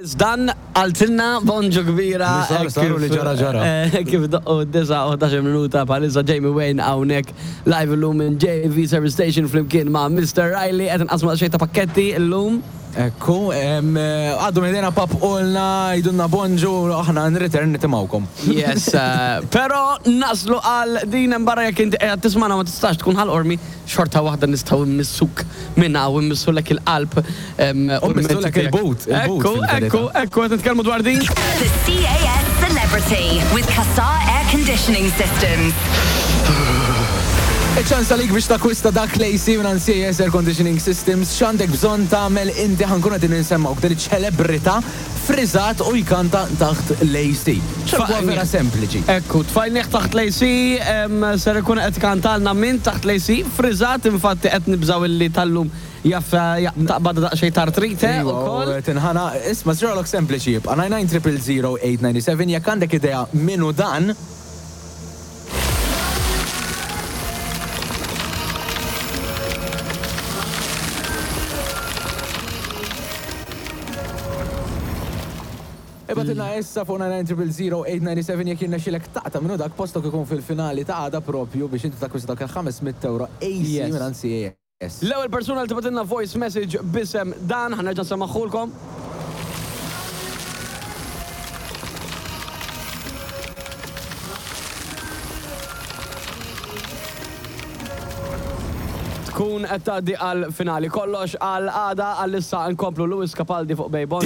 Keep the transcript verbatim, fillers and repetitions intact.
Dan għaltilna bonġu kbira. Li sar, sar u li ġara, ġara. Eh, Kif doqqu disa u ħdax-il minuta bħalissa Jamie Wayne hawnhekk live illum minn J V Service Station flimkien ma' Mister Riley, qed nqasmu xejn ta' pakketti illum. Ekku, em, eh, għaddu minn pap ulna, jgħidulna bonġu, aħna in return nitimgħukom. Yes, eh, pero naslu għal din barra jekk inti qiegħed tismana ma tistax tkun Ħal Qormi, xorta waħda nistgħu mmissuk minna u mmissulek il-qalb. em, U mmissulek il-but, il-but Ekku, fil-verità. ekku, ekku, qed nitkellmu dwar din. The C A S Celebrity with Cassar Air Conditioning Systems. Iċ-ċans għalik biex takwista dak l-A C minn C A S Air Conditioning Systems, x'għandek bżonn tagħmel inti? Ħa nkunu qegħdin insemmgħuk din iċ-ċelebrità friżat u jkanta taħt l-A C. ċerku vera sempliċi. Ekku, tfajnieh taħt l-A C, em, ser ikun qed kantalna minn taħt l-A C, friżat, infatti qed nibżaw illi tal-lum jaf taqbad daqsxejn tartrite Iva, ukoll. u tinħana, isma' żralok sempliċi jibqa' nine nine zero zero eight nine seven jekk għandek idea minu dan. Ibgħatilna issa fuq nine nine zero zero eight nine seven jekk jirnexxilek taqta' minnu dak, postok ikun fil-finali ta' għada propju biex inti takwista dak il-ħames mitt euro A C Yes. minn C A S. L-ewwel persuna li tibgħatilna voice message b'isem dan, ħa nerġa' nsemmagħhulkom. Tkun qed tgħaddi għal finali. Kollox għal għada, għal issa nkomplu Lewis Capaldi fuq Bay Bon.